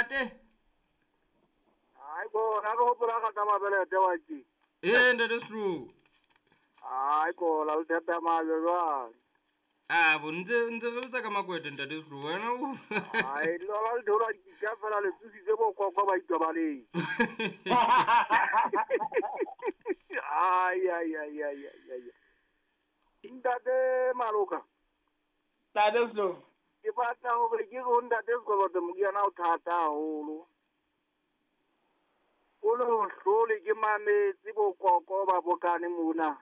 Ntate. Ai ko na go hopola ka tama bele te wa tsi. Eh ntate Slu. Ai ko la le tama jwa. Ah bo ntse re botsa ka makwete ntate Slu wena o. Ai lo la le dora di ka fela le tsitse bo kwa kwa ba itobaleng. Ai ai ai ai ai. Ntate Maloka. Ntate Slu. Ke batla hore ke go ntate Slu moriana o thata haholo. O le ho hlole ke mametse bokoko ba bokane mona.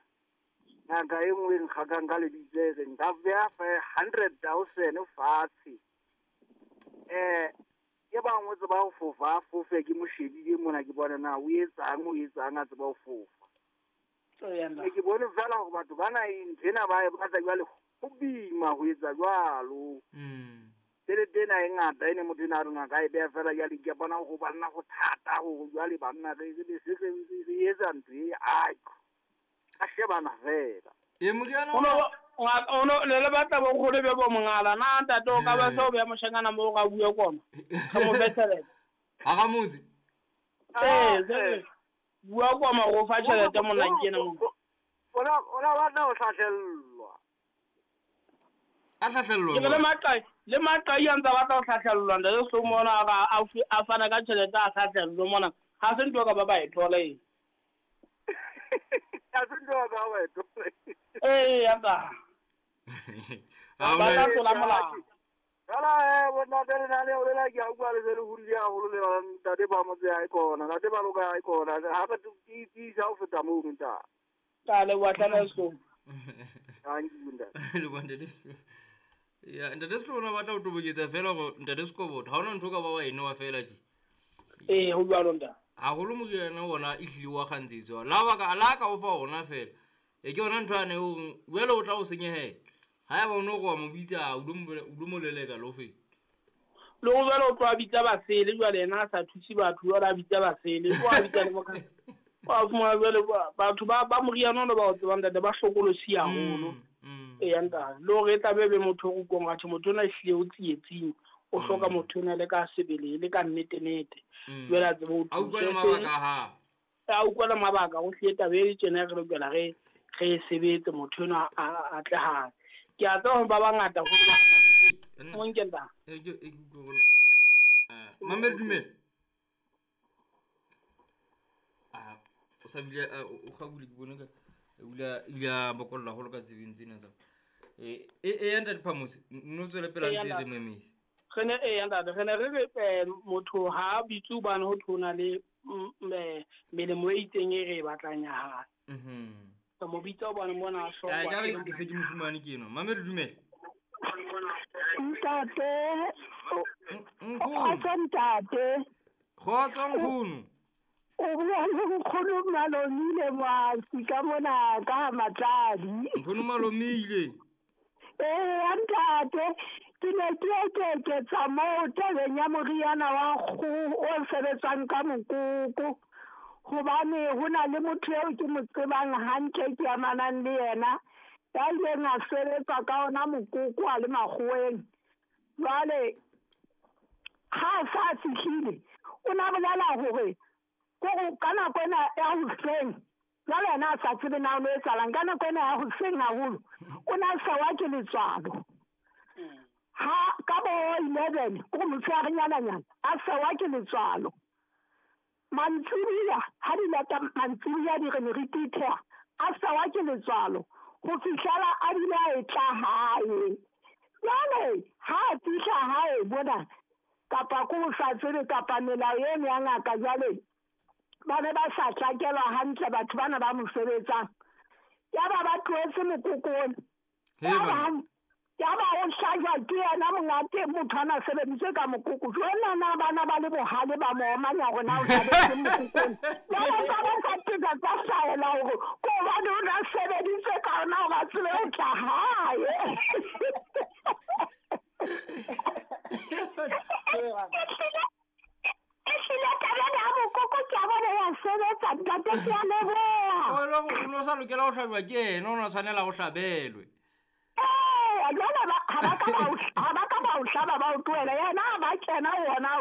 Ngaka e nngwe nkgakang ka lebitso e reng nka beha 100,000 fatshe. Ke bangwe tseba ho fofa, fofe ke mo shebile mona ke bona na o etsang a tseba ho fofa. Ke bone fela hore batho bana nthena ba e batla jwale ho boima ho etsa jwalo. Tjhelete ena e ngata ene motho ena a rona ka e beha fela jwale ke bona ho banna ho thata hore jwale banna re re etsa ntho e ai a shebana fela. E moriana ono le le batla bo nkgono be bo mongala na ntate o ka ba se o beha moshanyana moo ka bua koma. Ka mo fe tjhelete. Ha ga motse. Eh bua koma go fa tjhelete monna ke ena mo. Ona batla ho hlahlellwa. A hlahlellwa. Ke le maqai a ntse batla ho hlahlellwa ntate Slu mona a fana ka tjhelete a hlahlellwa mona. Ha se ntho ka ba e thola e. Ha se ntho ka ba e thola. Eh anta. Ba tla tlola molao. Fela bona ntate le o lela ke a utlwa le se le hodile haholo le ntate ba motse ha e kona, ntate ba loka ha e kona. Ha re tiisa ho feta moo ntate. Ka le wa tla Slu. Thank you ntate. Le bona ntate. Ya ntate Slu ona batla ho toboketsa fela hore ntate Sikobodo ha ona ntho ka ba wa eno wa fela tje. Eh ho jwalo ntate. Haholo moriana ona e hlile wa kgantsetswa. La ba ka la ka o fa ona fela. E ke yona ntho ane o jwale o tla o senyehela. Ha eba o no go mo bitsa o lo mo leleka lo fe. Le go jwale o tlo bitsa basele jwale yena a sa thuse batho jwale a bitsa basele o a bitsa le boka. Wa fumana jwale batho ba moriana ona ba o tsebang ntate ba hlokolosi haholo. E ya ntate le hore e tla be motho o kong athe motho ona ehlile o tsietsing o hloka motho ona le ka sebele le ka nnete nete. Jwale a tsebe ho a utlwa le mabaka ha. A utlwa le mabaka o hlile taba e tjena re lokela re sebetse motho ona a tle hae. Ke a tseba hore ba bangata ho ba mo nkenta. Mamedi dumela. Ah o sa bile o gabule ke bone ka ula bokolla holo ka tsebeng tsena tsa. E ntate Phamose no tswele pela ntse re memile. Re ne ntate re ne re motho ha bitse hobane ho thona le melemo e itseng e re batlang ya hae. Ka mo bitsa hobane mona a hlokwa. Ka re ke se ke mo fumane ke eno. Mamedi dumela. Ntate. Nkgono. Ntate. Kgotso nkgono. O bua le nkgono Malomile Mwasi ka mona ka Matladi. Nkgono Malomile. Eh ntate ke ne ke eketsa moo tabeng ya moriana wa kgoho o sebetsang ka mokoko. Hobane ho na le motho eo ke mo tsebang hantle ke amanang le yena ya ileng a sebetsa ka ona mokoko a le makgoweng. Jwale ha a sa fihlile o na bolela hore ka nako ena ya hoseng jwale yena a sa tsebe na o etsahalang ka nako ena ya hoseng haholo o na sawa ke letswalo. Ha ka bo 11 o motshearenyana a sawa ke letswalo. Mantsibuya ha di lata mantsibuya di re ne re titheha a sawa ke letswalo ho fihlela a bile a etla hae. Jwale ha a fihla hae bona kapa ko sa tsebe kapa melao eno ya ngaka jwale ba ne ba sa tlakelwa hantle batho bana ba mo sebetsang. Yaba ba tlohetse mokokong. Yaba o hlajwa ke yena monga teng motho ana sebediswe ka mokoko. Jwale na bana ba le bohale ba mo omanya hore na o sebeditse mokokong. Jwale ba ba sa teka tsa hlahela hore ko hobane o na sebeditse ka ona hore a tsebe ho tla hae. Ehlile taba ya mokoko ke a bona ya sebetsa ntate ke a leboha. O no sa lokela ho hlajwa ke yena o na tshwanela ho hlabelwe. Jwale ha ba ka ba o hlaba ba o tlohela yena ha ba kena ona.